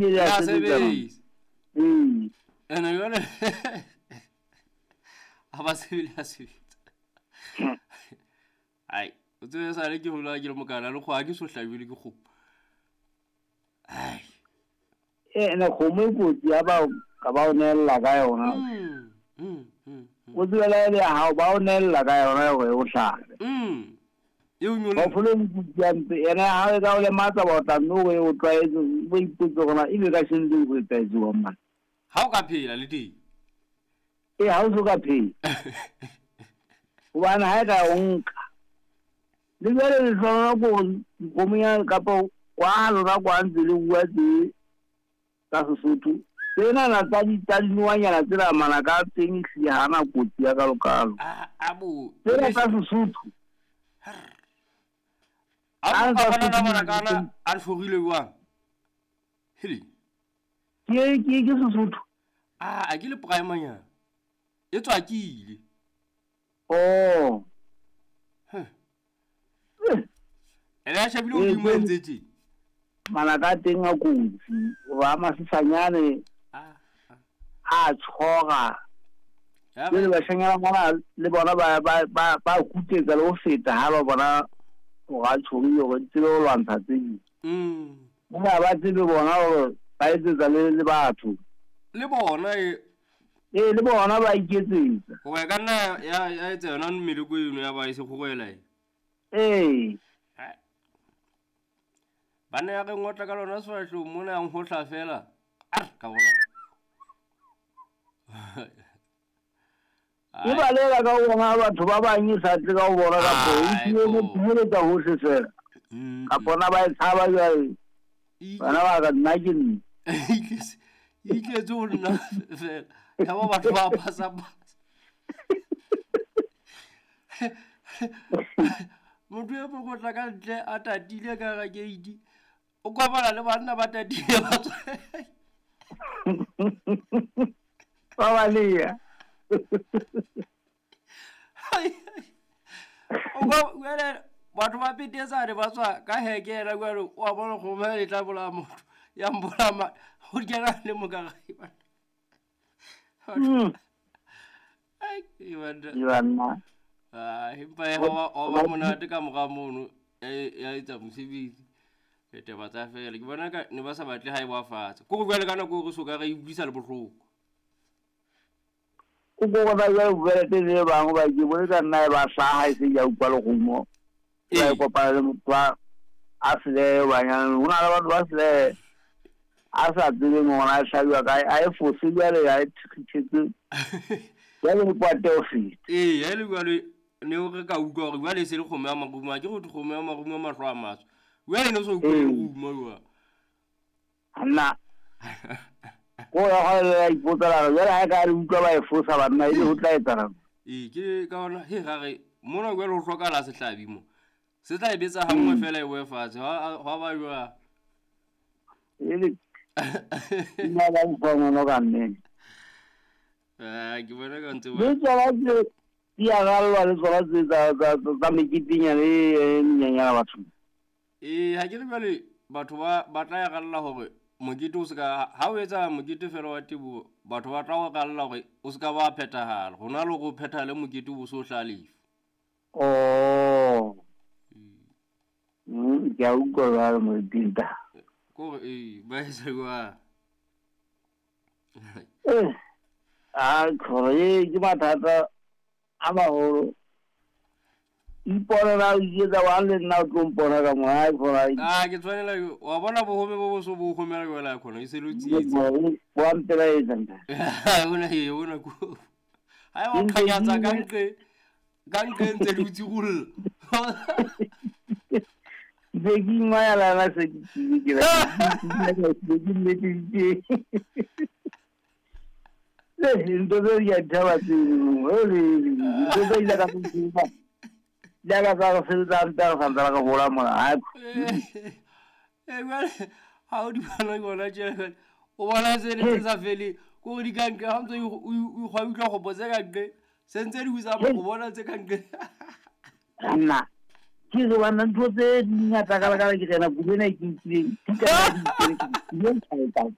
Ya sebetsa. Ee. Ene jwale ha ba sebele ya sebetsa. Ai, o tsebe sale ke hola ke le mokana le kgoho ha ke so hlabile ke kgomo. Ai. Ene kgomo e kotsi ya ba ka ba o neella ka yona. O tsebela e le ya hao ba o neella ka yona hore o hlabe. E o nyolle. Phoofolo e kotsi ya mpe ene ya hao e ka o lematsa ba o tla mme o e o tlwaetse o ipotse hore na ebe ka sheno teng ho etsahetse jwang mane. Ha o ka phela le teng. Ee, ha o so ka phela. Hobane ha e ka o nka. Le jwale lehlohonolo ke hore dikgomo ya kapa kwa lona kwa ntse le bua tse tsa Sesotho. Tsenana tsa di tsa dinowanyana tsena manaka a teng ehlile ha na kotsi ya kalokalo. A bo. Tsena tsa Sesotho. A bo ka bona manaka ana a hlorile jwang? Hele. Ke Sesotho. A ke le primanyana. E tswakile. Oh. Ene a shebile hodimo e ntse tje. Manaka a teng a kotsi, hoba a masesanyane a tshora. Jwale bashanyana bana le bona ba kutetsa le ho feta ha ba bona hore a tshorile hore di tsebe ho lwantsha tse ding. Bona ba tsebe bona hore ba etsetsa le batho. Le bona e. Ee, le bona ba iketsetsa. Hoba e ka nna ya etsa yona meleko eno ya ba e se kgorela e. Ee. Ba ne ya re ngotla ka lona sefahleho mona ya nhohla fela. Arr, ka bona. E balela ka ho bona batho ba bang e sa tle ka ho bona kapo e tlile mo phumeletsa hohle fela. Kapo na ba e tshaba jwale. Bana ba ka nna ke nna. E itletse ho nna fela. Ya ba batho ba pasa pasa. Motho e mong o tla ka ntle a tatile ka hara gate. O kopana le banna ba tatile ba tswa. Ba baleha. O kwa jwale batho ba petetsane ba tswa ka heke yena jwale wa bona kgomo e tla bolaya motho ya mbolaya ma ho kena le mo ka gae bana. Ai, e banna. E banna. Ah, empa e wa ba monate ka mora mono ya etsa mosebetsi. Le taba tsa fela. Ke bona ka ne ba sa batle ha e wa fatshe. Ko jwale ka nako re so ka re utlwisa le bohloko. O ko bona jwale bua tse le bang ba ke bone ka nna e ba hlaha e se ya utlwa lerumo. Ba kopana le motho a sele banyana. Ho na le batho ba sele a sa tsebeng hore a hlabiwa kae, a e fose jwale a e thekgithetse. Jwale le kwate ho feta. Ee, ha e le jwale ne o re ka utlwa hore jwale e se le kgomo ya marumo, ha ke re kgomo ya marumo a mahlo a matsho. Jwale ne o so utlwe lerumo jwang? Nna. Ko ya hwa le ya ipotsa la re, jwale ha e ka re utlwa ba e fosa banna, ebe ho tla etsahala. Ee, ke ka hona, he, ra re, mona jwale ho hlokahala sehlabi mo. Se tla e betsa ha nngwe fela e boe fatshe, hwa ba jwang? Ele, nna ba utlwa ngono ka nnete. Ah, ke bona ka ntse ba. Le tsona tse di a rallwa le tsona tse tsa meketenyana e menyenyana batho. Ee, ha ke re jwale batho ba tla ya ralla hore mokete o seka, ha o etsa mokete fela wa teboho, batho ba tla o ralla hore o seka ba phethahala. Hona le hore o phethahale mokete o bo so hlalefe. Oh. Ke a utlwa jwale Moipinta. Ko re, ee, ba etsa jwang? A khore e ke mathata a maholo. Ipona na o iketsa wa le nna o tlo mpona ka mo ha khora. Ah, ke tshwanela wa bona bohome bo bo so bo homela jwale khona e se lo tsietsa. Bo mpela etsa nta. Ona e ona ko. Ha wa khanyatsa ka nqe. Ka nqe ntse le utsi rulla. Be ke ingwaya la se ke tsile ke la. Ke ke ke. Le ntho tse di a thaba tse le ntho tse ile ka tseba. Le ka tsa go sebetsa ntse re santse re gola mona. Ha. Eh jwale ha o di bona bona tjela o bona se le se sa fele ko re di ka nqe ha ntse o ikgwa utlwa go botse ka nqe se ntse di usa go bona tse ka nqe. Nna ke re bana ntho tse di ngata ka ke rena kulo ena e ke nkileng di ka di.